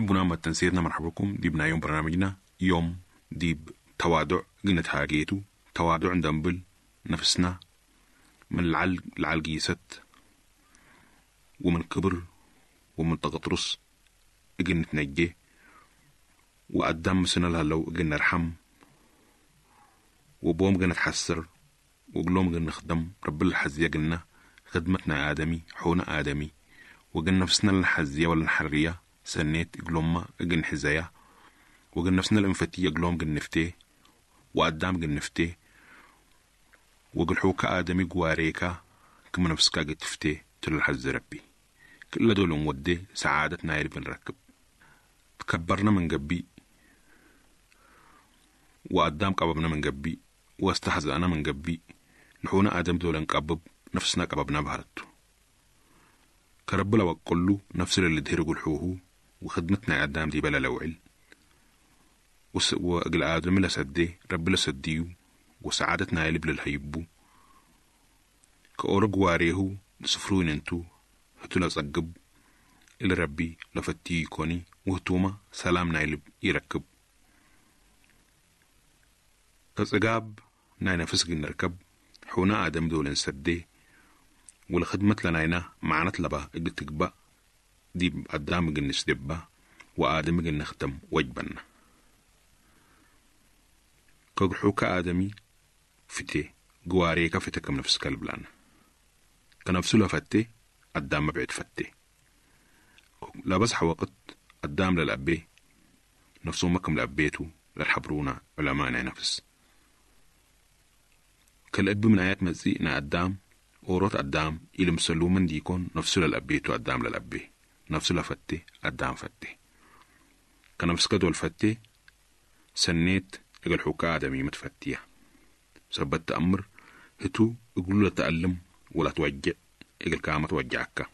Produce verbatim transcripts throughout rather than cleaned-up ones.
بنا ما تنسيرنا مرحبا بكم ديبنا يوم برنامجنا يوم ديب توادع قلنا تهاجيتو توادع ندنبل نفسنا من العل العل قيست ومن كبر ومن تغطرس اجن نتنجي وقدام مسنا لهلو اجن نرحم وبوم جن نتحسر وقلوم جن نخدم رب الحزية قلنا خدمتنا آدمي حونا آدمي وجن نفسنا الحزية ولا الحرية سنيت قلوما اجن حزايا وجن نفسنا الانفتية قلوم جن نفتي وقدام جن نفتي وقل آدمي جواريكا كما نفسك قد تفتي تل الحز ربي كل دول مودي سعادتنا يرب نركب تكبرنا من قبي وقدام قببنا من قبي واستهزأنا من قبي لحونا آدم دول نقبب نفسنا قببنا بهرتو كرب لو قلو نفس اللي دهرقوا الحوهو وخدمتنا قدام دي بلا لوعل وأجل آدم لسدي رب لسديو وسعادتنا يلب للهيبو كأورج واريهو سفرون انتو هتو لصقب اللي ربي لفتي كوني وهتوما سلام نايلب يركب كصقاب ناينا فسق نركب حونا آدم دول نسدي والخدمة لناينا معنت لبا اجل تقبأ دي قدام اجل نسدبا وآدم اجل نختم وجبنا كجحوك آدمي فتي جواريك فتك نفس كلبلان كنفسه لفتي قدام ما بعد فتي لا بس حوقت قدام للأبي نفسه مكم لأبيته للحبرونا علماء نفس كالأب من آيات مزيئنا قدام أوروت قدام إلي مسلو من ديكون نفسه للأبيته قدام للأبي نفسه لفتي قدام فتي كنفس كدول فتي سنيت اجل حكا آدمي متفتية سبت أمر هتو اقولوا لا تألم ولا توجع اجل كامة توجعك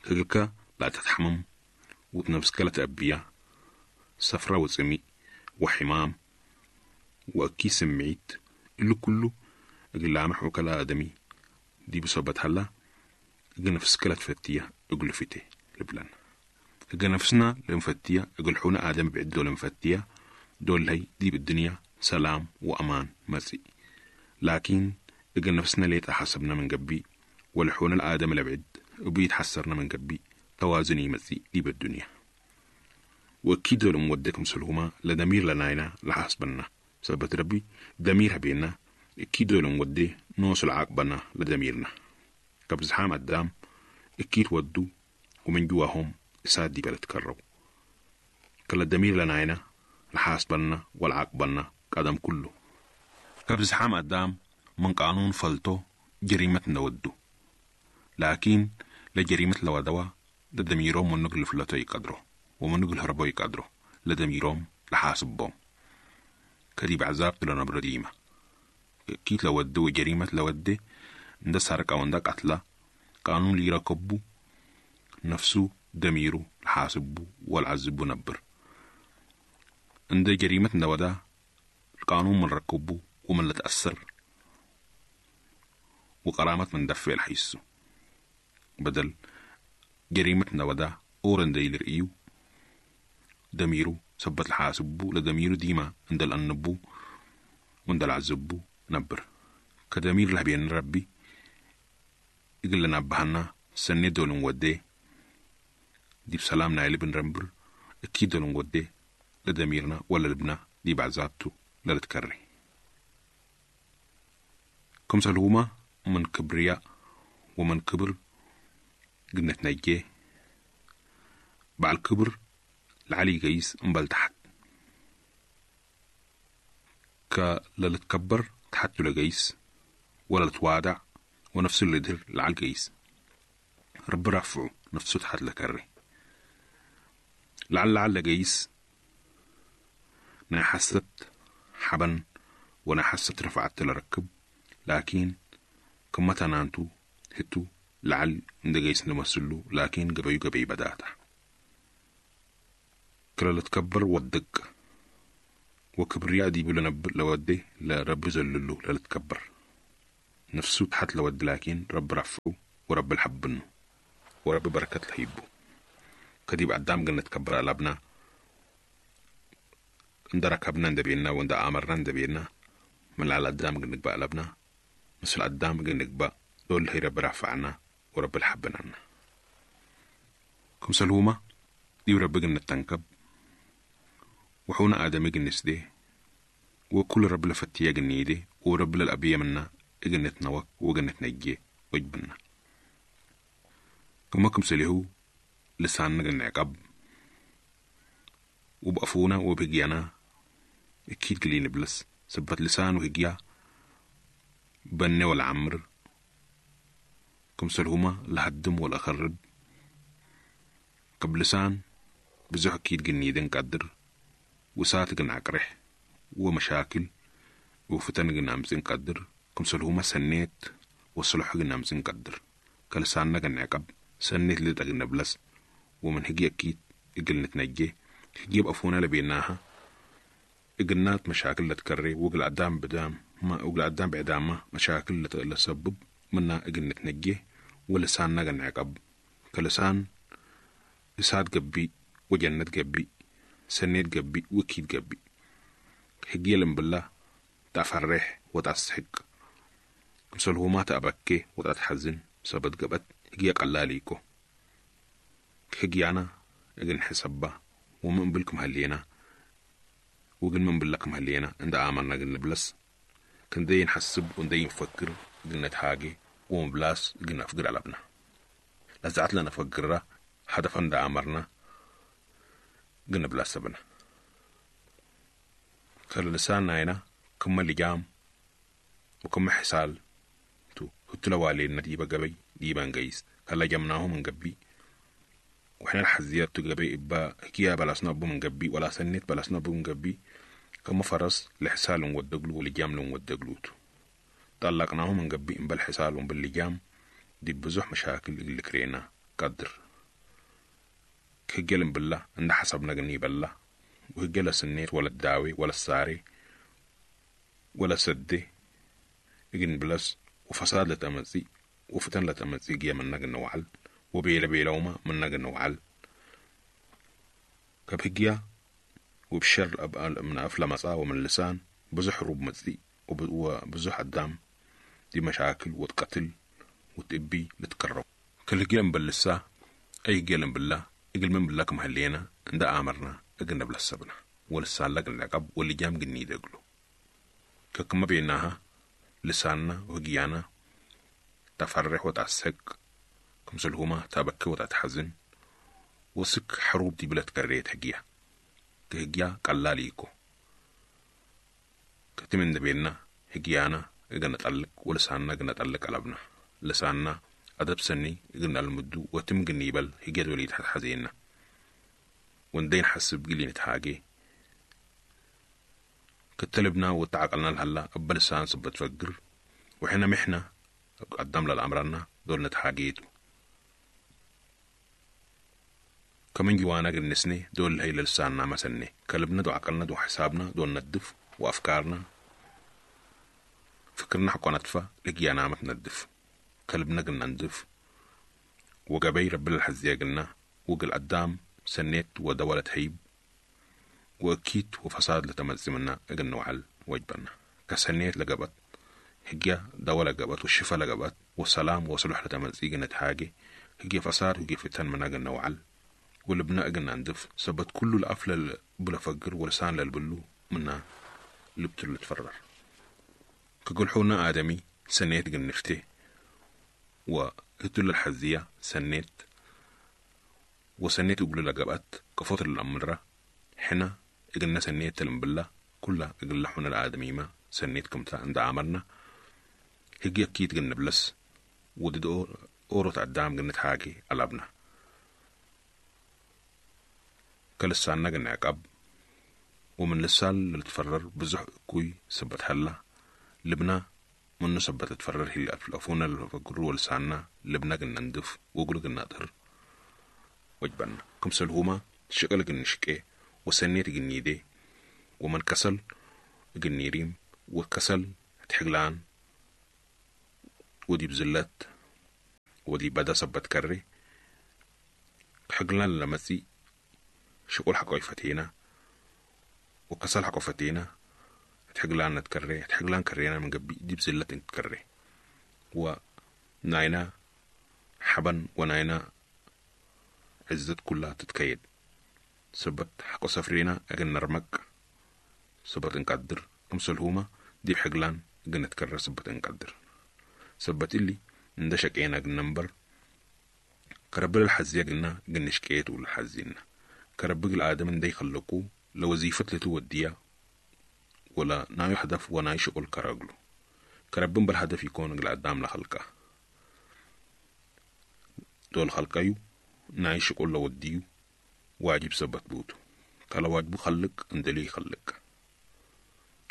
اجلك لا تتحمم وتنفسك لا تأبيا سفرة وسمي وحمام وأكي سمعيت اللي كله اجل لامح وكلا آدمي دي بصبت هلا اجل نفسك لا تفتية اجل فتي لبلان اجل نفسنا لمفتية اجل حونا آدم بعدو لمفتية دول هي دي بالدنيا سلام وأمان مسي لكن اجل نفسنا ليه تحسبنا من قبي ولحونا الآدم الأبعد وبيتحسرنا من قبي توازني مسي دي بالدنيا وأكيد دول مودكم سلهما لدمير لناينا لحسبنا سبت ربي دمير بينا أكيد دول مودي نوصل عاقبنا لدميرنا قبل زحام قدام أكيد ودو ومن جواهم ساد دي بلد كرو كلا الدمير لناينا لحاسبنا والعاقبنا قدم كله قبل زحام قدام من قانون فلتو جريمة نودو لكن لجريمة لودوا لدميروم من نقل فلتو يقدرو ومن نقل هربو يقدرو لدميروم لحاسبهم كديب عذاب لنبر ديمة كيت لودو جريمة لودي ندا سرقة وندا قتلة قانون لي ركبو نفسو دميرو لحاسبو والعذبو نبر عند جريمة نودا القانون من ركبو ومن لتأثر وقرامة من دفع الحيسو بدل جريمة نودا أورن ديل رئيو دميرو سبت الحاسبو لدميرو ديما عند الأنبو وعند العزبو نبر كدمير لهبين ربي يقول لنا بهنا سنة دول نودي دي بسلام نايل بن رمبر أكيد دول نودي لدميرنا ولا لبنا دي بعزابتو لا تكري كم سلوما من كبرياء ومن كبر قلنا تنجيه بعد الكبر العلي جيس انبل تحت كلا تكبر تحت لجيس ولا توادع ونفسه اللي دهر العلي جيس رب رفعه نفسه تحت لكري لعل لعل جيس نا حست حبن ونا حست رفعت لركب لكن كما تنانتو هتو لعل اند جيس نمسلو لكن جبيو جبي بداتا كلا تكبر ودق وكبرياء دي بلنب لودي لرب زللو لا تكبر نفسه تحت لود لكن رب رفعه ورب الحبنه ورب بركة الحيبو كديب أدام قن نتكبر ألبنا عند ركبنا عند بينا وعند آمرنا عند بينا من على أدام قن نقبأ ألبنا مثل أدام قن نقبأ دول هي رب رفعنا ورب الحبنا كمسلومة دي رب قن نتنكب وحونا آدمي قن نسدي وكل رب لفتيا قن ورب للأبية منا قن نتنوك وقن نتنجي وجبنا كما كمسلهو لساننا قن عقب وبأفونا وبهجيانا أكيد قلي نبلس سبت لسان وهجيا بني والعمر كمسلهما لهدم ولا خرب قبل لسان بزح أكيد قنيدن قدر وسات قن عقرح ومشاكل وفتن قن أمزن قدر كمسلهما سنيت وصلح قن أمزن قدر كلساننا قن عقب سنيت لدى قن نبلس ومن هجي أكيد إقل نتنجي هجي بأفونا لبيناها إقلنات مشاكل لتكري وقل عدام بدام ما وقل عدام بعدام ما مشاكل لتسبب منا إقل نتنجي ولساننا قن عقب كلسان إساد قبي وجنة قبي سنيت قبي وكيد قبي هجي بالله تفرح وتسحق مثل ما تأبكي وتتحزن سبت قبت هجي قلاليكو هجي أنا إجن حسبة ومن بالكم هلينا وقل من بالكم هلينا عند آمرنا قل نبلس كن دي نحسب وندي نفكر قلنا نتحاجي ومبلاس قلنا نفقر على ابنا لزعت لنا نفكرها هدفا عند آمرنا قلنا بلاس بنا كل لساننا هنا كم اللجام وكم حسال تو هتلوالينا ديبا قبي ديبا نقيس كلا جمناه من قبي وحنا الحزيات تقبي إبا كيا بلا سنبو من قبي ولا سنت بلا سنبو من قبي كما فرس لحسال ودقلو ولجام ودقلوتو طلقناه من قبي إن بالحسال باللجام دي بزح مشاكل اللي كرينا قدر كجلم بالله عند حسبنا قني بالله وهجل سنيت ولا الداوي ولا الساري ولا سدي إجن بلس وفساد لتمزي وفتن لتمزي جيا من نجن وعل وبيلا بيلوما من نجن وعل كبهجيا وبشر الأب من أفلا مسا ومن اللسان بزح روب مزي وبزح الدم دي مشاكل وتقتل وتبي لتكرر كل جيل باللسا أي جيل بالله إجل من بالله كم هلينا عند آمرنا إجلنا بلسبنا ولسان لقنا العقب واللي جام جني دقلو كما بيناها لساننا وهجيانا تفرح وتعسك كمسلهما تبكي وتتحزن وسك حروب دي بلا تكريت هجيا كهجيا قلاليكو كتمن بيننا هجيانا إجنا نتعلق ولساننا إجنا نتعلق قلبنا لساننا أدب سني إجنا المدو وتم جنيبل هجيا وليد حزيننا وندين حسب قلي نتحاجي كتلبنا وتعقلنا لهلا أبا لسان صبت تفجر وحنا محنا قدام للأمرنا دول نتحاجيتو كمن جوانا قلنسني دول هي لساننا مسني كلبنا دو عقلنا دو حسابنا دول ندف وأفكارنا فكرنا حقنا ندفع لقيانا ما تندف كلبنا قلنا ندف وقبي رب الحزية قلنا وقل قدام سنيت ودولة هيب وأكيد وفساد لتمزمنا قلنا وعل وجبنا كسنيت لقبت هجيا دولة قبت والشفا لقبت والسلام وصلح لتمزي قلنا حاجة هجيا فساد وهجيا فتن منا قلنا وعل والبناء قلنا ندف سبت كل الأفلة بلا فقر ولسان للبلو منا لبتل تفرر كقول حونا آدمي سنيت قلنا نفتي وهتل الحزية سنيت وسنيت قبل لقبت كفوت الأمرة حنا إجلنا سنيت المبلة كلها إجل حنا الآدمي ما سنيت كمتا عند عمرنا هجي أكيد قلنا بلس ودد أورو تعدام قلنا تحاكي قلبنا كلساننا قلنا عقب ومن لسال اللي تفرر بزح كوي سبت حلا لبنا منو سبت تفرر هي الأفونا اللي فقروا ولساننا لبنا قلنا ندف وقلو قلنا أطهر وجبنا كمسلهما شقل قلنا شكي وسنيت قلني ومن كسل قلني ريم وكسل تحقلان ودي بزلت ودي بدا سبت كري حقلان لمسي شغل حقو يفتينا وكسل حقو فتينا تحقلان نتكري تحقلان كرينا من قبي دي بزلة تكري وناينا حبن وناينا عزت كلها تتكيد. سبت حقو سفرينا أجن نرمك سبت نقدر كمسلهوما دي حقلان أجن نتكرر سبت نقدر. سبت اللي ندشك أجن نمبر كربل الحزية قلنا قلنا شكيت ولا حزينا كربق الآدم ندي خلقو لوظيفة لتوديا ولا نايو هدف وناي شغل كراغلو. كربن بالهدف يكون قل لخلقه. دول خلقايو ناي شغل لوديو واجب سبت بوتو. كلا واجبو خلق اندلي خلق.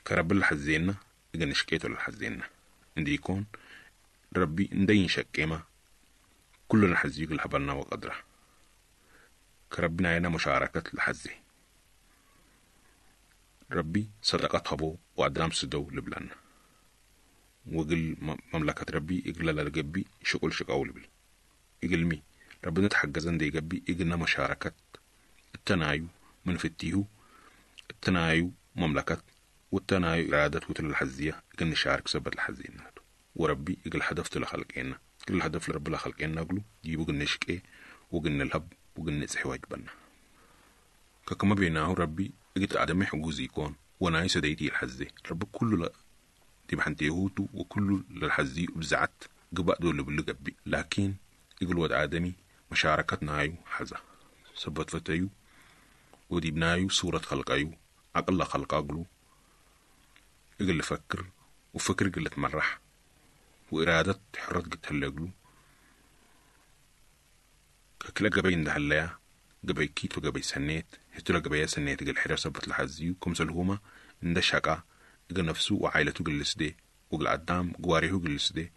كرب الحزينا إذا شكيت ولا الحزينا عندي يكون ربي ندين شكيما كلنا حزيق الحبلنا وقدره. كربنا عنا مشاركة الحزي. ربي صدقات هبو وأدام سدو لبلان. وقل مملكة ربي إقل للجبي شغل شقاو لبل. إقل مي ربنا تحجزن دي جبي إقلنا مشاركة التنايو من فتيهو التنايو مملكة والتنايو إرادة وتل الحزية إقل نشارك سبت الحزية وربي إقل هدف لخلقنا كل هدف لرب لخلقنا قلو جيبو قل نشكي وقل نلهب وقل نسحي واجبنا. كما بيناه ربي إجت آدمي حجوز يكون وناي سديتي الحزي. رب كله لا دي بحنتيهوتو وكله للحزي وبزعت قبأ دول باللي قبي. لكن يقول ود آدمي مشاركة نايو حزا. سبت فتيو ودي بنايو صورة خلقايو عقل خلقاقلو يقول فكر وفكر قلت مرح وإرادة حرة قلت هلقلو كلا قبي اندهليا قبي كيت وقبي سنيت هتلا قبي سنيت قل حرة سبت الحزيو كم سلهما اندشقا قل نفسه وعائلته قل سدي وقل عدام قواريه قل سدي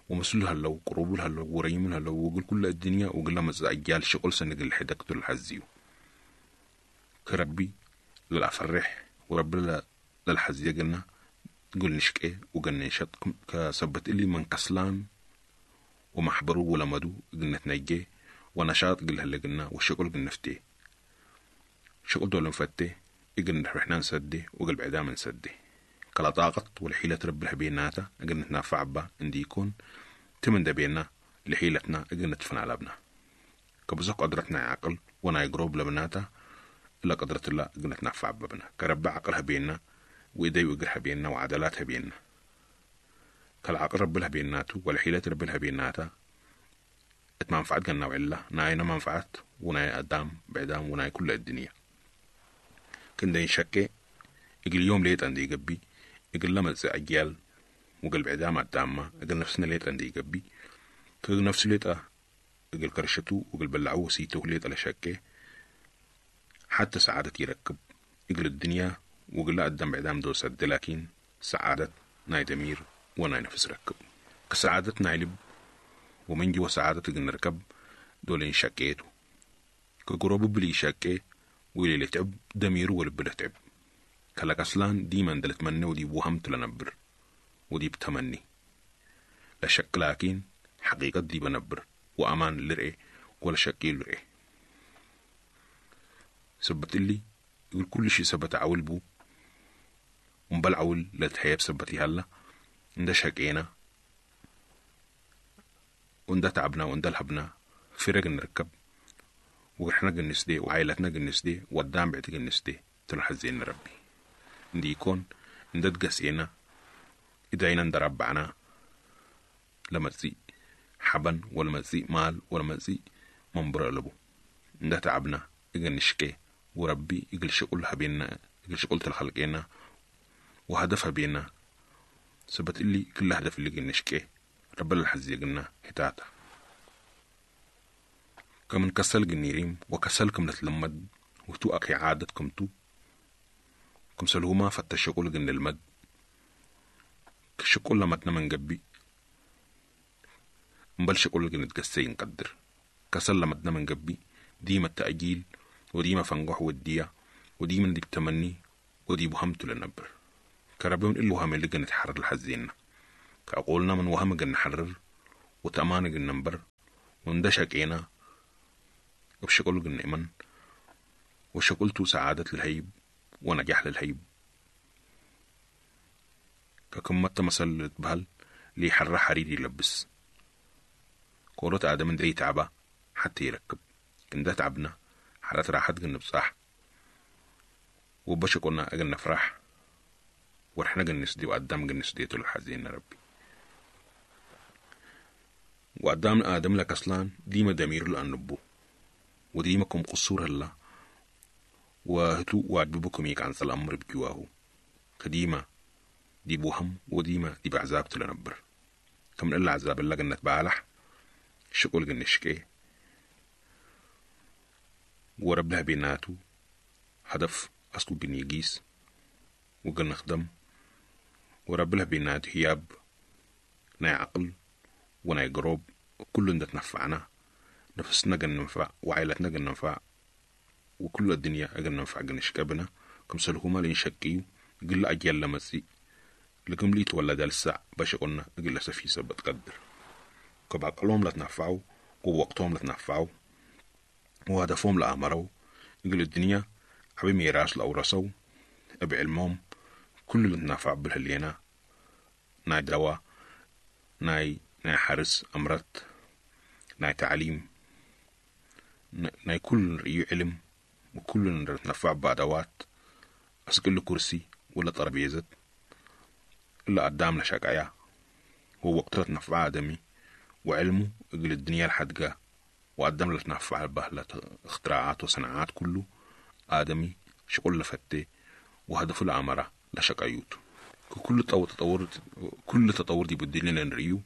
ومسلو هلو قروبو هلو وريم هلو وقل كل الدنيا وقل لما أجيال شغل سنة قل حدك الحزيو. كربي للأفرح ورب للحزية قلنا قل نشكي وقل نشط كسبت اللي من كسلان ومحبرو ولمدو قلنا تنجي ونشاط قل هلا قلنا والشغل قلنا نفتي. شغل دول نفتي قلنا رحنا نسدي وقل بعدام نسدي. كلا طاقت والحيلة رب الحبيناتا قلنا نتنافع با عندي يكون تمن دبينا لحيلتنا قلنا نتفن على ابنا. كبزق قدرتنا عقل وانا يقرب لبناتا إلا قدرة الله قلنا نتنافع ببنا. كرب عقلها بينا وإيدي وقرها بينا وعدلاتها بينا. كالعقل رب لها بيناتو والحيلة رب لها بيناتا اتمنفعت قلنا وعلا ناينا منفعت وناي أدام بعدام وناي كل الدنيا. كندا ينشكي إقل يوم ليت عندي يقبي إقل لما أجيال وقل بعدام أدامة إقل نفسنا ليت عندي يقبي كل نفسه ليت إقل كرشتو وقل بلعوه سيتو ليت على شكي حتى سعادة يركب إقل الدنيا وقل لا أدام بعدام دو سد لكن سعادة ناي دمير وناي نفس ركب. كسعادة نايلب ومن جوا سعادة نركب دولين شكيتو كقربو بلي شكي ويلي تعب دمير ولب تعب. كلا كسلان ديما دلت ودي وهمت لنبر ودي بتمني لا شك لكن حقيقة دي بنبر وأمان لرئي ولا شكي لرئي. سبت اللي يقول كل شيء سبت عول بو ومبل عول لا تحيب سبتي هلا انده شكينا وانده تعبنا وانده لهبنا فرق نركب وإحنا جنسدي وعائلتنا جنسدي ودام بعد جنسدي تلحزين ربي عندي يكون انده تقسينا إدعينا ندربعنا لما تزي حبن ولا ما تزي مال ولا ما تزي منبر لبو انده تعبنا إجن نشكي وربي إجل شغل بينا إجل شغل الخلقنا وهدفها بينا سبت اللي كل هدف اللي جن نشكي رب الحزي قلنا هتاتا. كمن كسل جنيريم وكسلكم نتلمد وتو أكي عادتكم تو كم سلهما فتشقول جن المد كشقول لما من جبي مبل شقول جن تجسي نقدر كسل لما من جبي ديما التأجيل وديما فنجح وديا وديما دي بتمني ودي بهمت للنبر كربون اللي وهم اللي جن نتحرر الحزين كأقولنا من وهم جن نحرر وتأمان جن نبر وندشك إينا وبشقل قن نأمن وشقلتو سعادة للهيب ونجاح للهيب. ككمتا مسل بهل لي حرة حرير يلبس كورة آدم دي تعبا حتى يركب كندا تعبنا حرات راحت قن بصح وبشقنا أجن نفرح ورحنا قن نسدي وقدام قن نسدي الحزين ربي. وقدام آدم لك أصلا ديما دمير لأنبو وديما كم قصور هلا وهتو واجبكم يك عن الأمر بجواه كديما دي بوهم وديما دي بعذاب تلنبر كم إلا عذاب اللي جنة بالح شقول جن شكي وربها بيناتو هدف أسكو جنيجيس وجن نخدم وربها بيناتو هياب ناي عقل وناي قروب كل ده تنفعنا نفسنا جن ننفع وعائلتنا جن ننفع وكل الدنيا أجن ننفع جن شكبنا كم سلهما لين شكيو قل أجيال لمسي لكم لي تولد لسع باش قلنا أجل سفي سبت قدر كبعقلهم لا تنفعوا ووقتهم لا تنفعوا وهدفهم لا أمروا أجل الدنيا عبي ميراث لأورثوا أبي علمهم كل اللي تنفع بالهلينا ناي دواء ناي ناي حرس أمرت ناي تعليم ناي كل رأي علم وكل نتنفع بأدوات أسكل كرسي ولا ترابيزة إلا قدام لشقعيا هو وقت تنفع آدمي وعلمه أجل الدنيا الحدقة وقدام لتنفع بهلة اختراعات وصناعات كله آدمي شغل لفتة وهدفه العمرة لشقعيوته. كل تطور كل تطور دي بدلنا نريو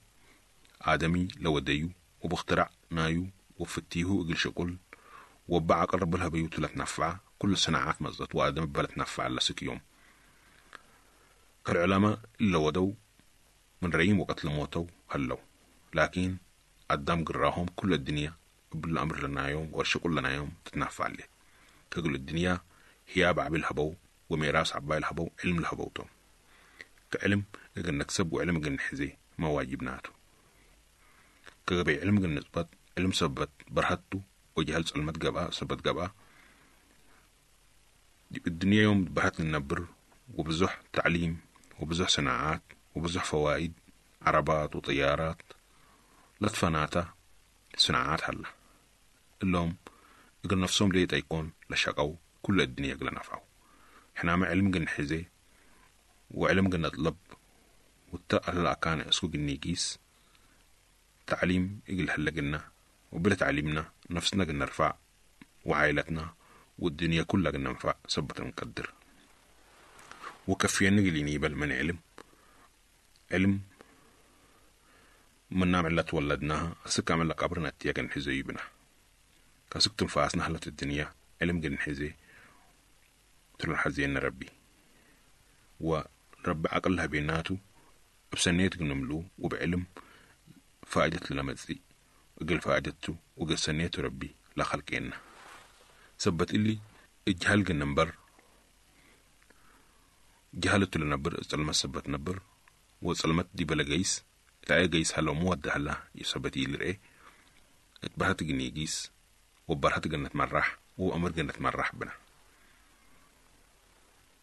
آدمي لو ديو وباخترع نايو وفتيه أجل شغل وبع قرب لها بيوت لتنفع كل صناعات مزت وآدم بلتنفع لسك يوم. كالعلماء اللي ودوا من ريم وقتل موتوا هلو لكن قدام قراهم كل الدنيا بالأمر لنا يوم والشغل لنا يوم تتنفع عليه. كقول الدنيا هي بعبي الهبو وميراث عباي الهبو علم الهبوتو كعلم قل نكسب وعلم قل نحزي ما واجبناته. كغبي علم قل نثبت علم سبت برهته وجهل سلمت جبا سبت جبا الدنيا يوم برهت النبر وبزح تعليم وبزح صناعات وبزح فوائد عربات وطيارات لطفناتا صناعات هلا اللهم قل نفسهم ليه تيكون لشقوا كل الدنيا قل نفعوا. احنا مع علم قل نحزي وعلم قل نطلب والتأهل الأكان اسكو قل نيجيس تعليم إقل هلا قلنا وبلا تعليمنا نفسنا قلنا نرفع وعائلتنا والدنيا كلها قلنا ننفع سبت نقدر وكفينا نقل ينيبل من علم علم من نعمل تولدناها أسك عمل لك قبرنا تيا نحزي بنا كاسك تنفاسنا هلت الدنيا علم قل نحزي تلو حزينا ربي ورب عقلها بيناتو بسنيت نملو وبعلم فائدة لمزي وقل فائدته وقل سنيته ربي لا خلقنا سبت اللي اجهل قن جهلته لنبر ظلمت سبت نبر وظلمت دي بلا جيس تعي جيس هلا مودة هلا يثبت يلرئ اتبهت جن يجيس وبرهت جنة مرح وأمر جنة مرح بنا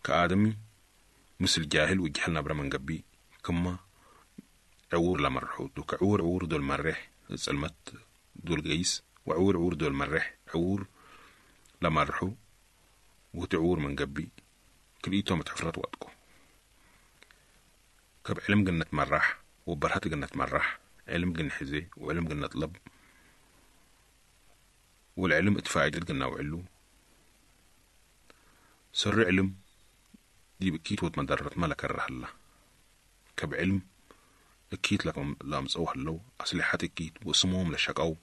كآدمي مثل جاهل وجهل نبرة من قبي كما عور لمرحوت وكعور عور دول مرح ظلمت دول جيس وعور عور دول مرح عور لمرحو وتعور من قبي كليتهم تحفرت وقتكم كب علم جنة مرح وبرهت جنة مرح علم جن حزي وعلم جنة طلب والعلم اتفاعل جنة وعلو سر علم دي بكيت وتمدرت ملك الرحلة كب علم اكيت لكم لامس او هلو أسلحة اكيت واسمهم لشقاو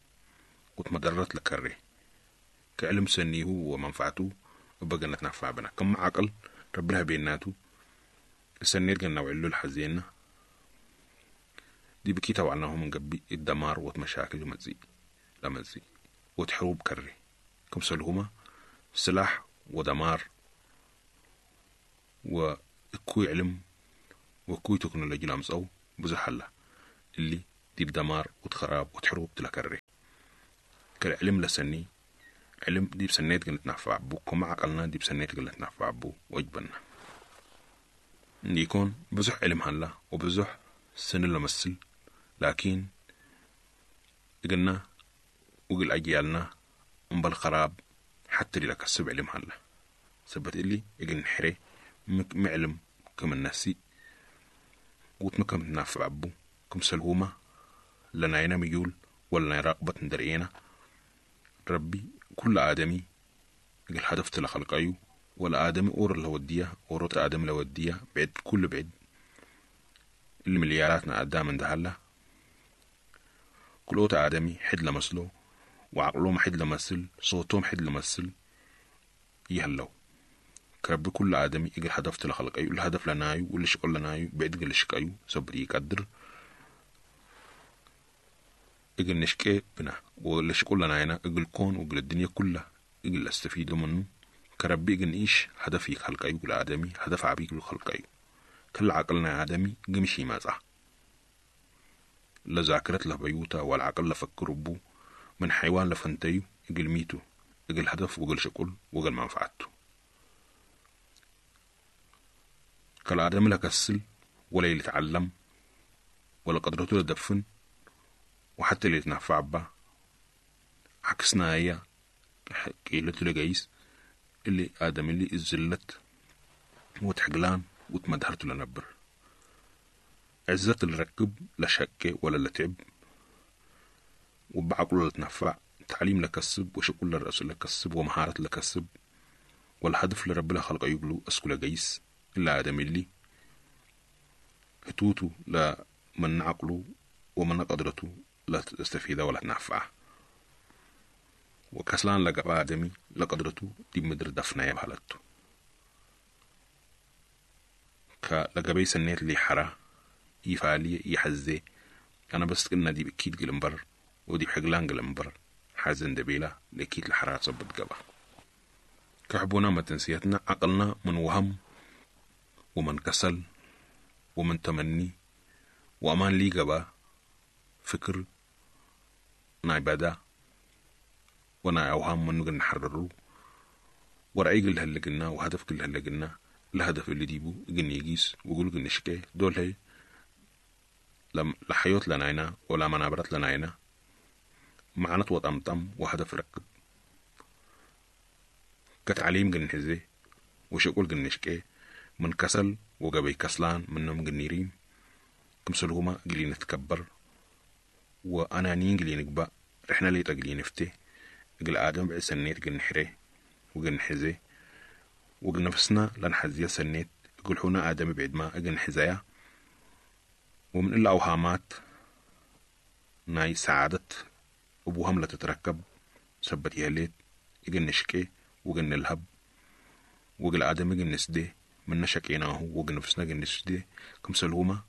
وتمدرت لكري كعلم سنيه ومنفعته وبقى نتنفع بنا كم عقل ربنا بيناتو السنير جنا وعلو الحزينة دي بكيتا وعناهم من قبي الدمار ومشاكل ومزي لمزي وتحروب كري كم سلهما سلاح ودمار وكوي علم وكوي تكنولوجيا لامس بزحلة اللي دي بدمار وتخراب وتحروب تلكري كالعلم لسني علم ديب سنيت قل نتنفع بو، كما عقلنا ديب سنيت قل نتنفع بو وجبنا. يكون بزح علم هلا وبزح سن لمسل، لكن قلنا وقل أجيالنا أمبل خراب حتى اللي لكسب علم هلا سبت اللي إجن نحري معلم كم النسي وتمكن تنافع عبو كم سلهومة لنا ميول ولا راقبة ندرينا. ربي كل آدمي قل هدف تلخلق أيو، ولا آدمي أور لودية أوروت آدم لودية بعد كل بعد الملياراتنا قدام اندهلا. كل آدمي حد لمسلو وعقلهم حد لمسل صوتهم حد لمسل يهلو. كرب كل آدمي إجل هدف تلخلق أيو، الهدف لنايو واللي شغل لنايو بعد قل شقايو سبري يقدر إجل نشكي بنا واللي شغل لناينا إجل كون وإجل الدنيا كلها إجل استفيدوا منه. كربي إجل إيش هدف يخلق أيو الآدمي هدف عبيك الخلق أيو. كل عقلنا آدمي قمشي ما صح لذاكرة له بيوتا والعقل لفكر بو من حيوان لفنتيو إجل ميتو إجل هدف وإجل شغل وإجل منفعته. كالآدم لا كسل ولا يتعلم ولا قدرته لدفن وحتى اللي يتنفع به عكسنا هي قيلته لجيس اللي آدم اللي الزلت وتحقلان وتمدهرته لنبر عزة الركب لا شك ولا لتعب وبعقله لتنفع تعليم لكسب وشغل للرأس لكسب ومهارة لكسب والهدف لرب خلق يقولوا أسكو لجيس إلا آدم اللي هتوتو لا من عقله ومن قدرته لا تستفيد ولا تنفع. وكسلان لقى آدمي لقدرته دي مدر دفنا يبهلته كلقبي سنيت اللي حرا يفعلي يحزي أنا بس قلنا دي بكيد قلنبر ودي بحقلان قلنبر حزن دبيلة لكيد الحرا تصبت قبا. كحبونا ما تنسيتنا عقلنا من وهم ومن كسل ومن تمني وأمان لي قبا فكر نعبادة ونا أوهام من نقل نحررو ورأي قل هلا قلنا وهدف قل هلا قلنا الهدف اللي ديبو قلنا يجيس وقول قلنا شكي دول هي لم لحيوت لناينا ولا منابرت لناينا معنى وطمطم وهدف ركب كتعليم قلنا حزي وشقول قلنا شكي من كسل وقبي كسلان منهم قلنيرين كمسلهما قلي نتكبر وأنانيين قلي نقبأ رحنا لي تقلي نفتي قل آدم بعد سنيت قل نحري وقل نحزي وقل نفسنا لنحزي سنيت قل حونا آدم بعد ما قل نحزايا. ومن إلا أوهامات ناي سعادة أبوهم لا تتركب سبت يهليت قل نشكي وقل نلهب وقل آدم قل نسدي من نشكيناه وقل نفسنا قل نسدي كمسلهما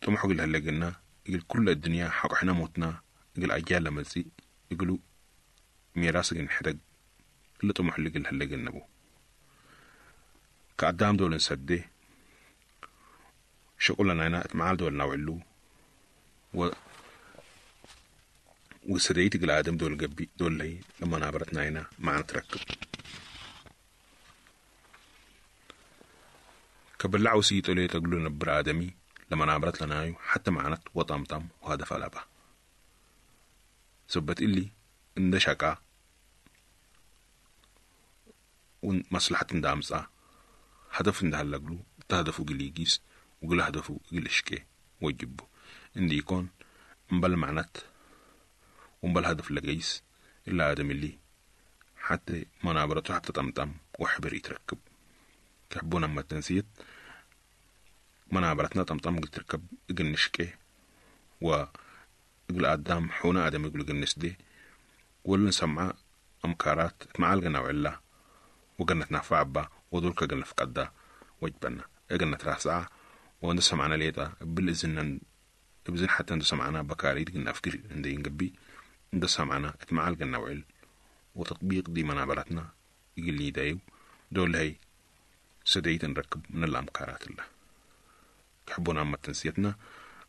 طمحوا قل هلا قلنا يقول كل الدنيا حق احنا موتنا يقول أجيال لمزي يقولوا ميراث قل نحرق اللي طمح اللي قل هلا قلنا بو كقدام دول نسدي شغلنا أنا اتمعال دول نوعلو و وسديت قل آدم دول قبي دول لي لما نابرتنا هنا معنا تركب كبلعوا سيتو لي تقولوا نبر آدمي لما نابرت لنايو حتى معنت وطمطم وهدف لبا سبت اللي اندشكا ومصلحة اندامسا هدف اندهلقلو تهدفو قليجيس وقل هدفو قلشكي وجبو اندي يكون مبل معنت ومبل هدف لقيس إلا آدم اللي حتى منابرته حتى طمطم وحبر يتركب كحبونا ما تنسيت منابرتنا طمطم قلت تركب قل نشكي وقل آدم حونا آدم يقول قل نسدي ولا نسمع أمكارات معالقنا وعلا وقلنا تنفع با ودولك قلنا فقدا وجبنا قلنا تراسعة ونسمعنا ليتا بالإذن بزن حتى ندسمعنا بكاريت قلنا أفكر عندي نقبي ندسمعنا اتمعالقنا وعل وتطبيق دي منابرتنا يقول لي دايو دول هي سديت نركب من الأمكارات الله كحبونا أما تنسيتنا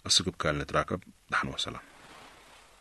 السقب كان نتراكب دحن وسلام.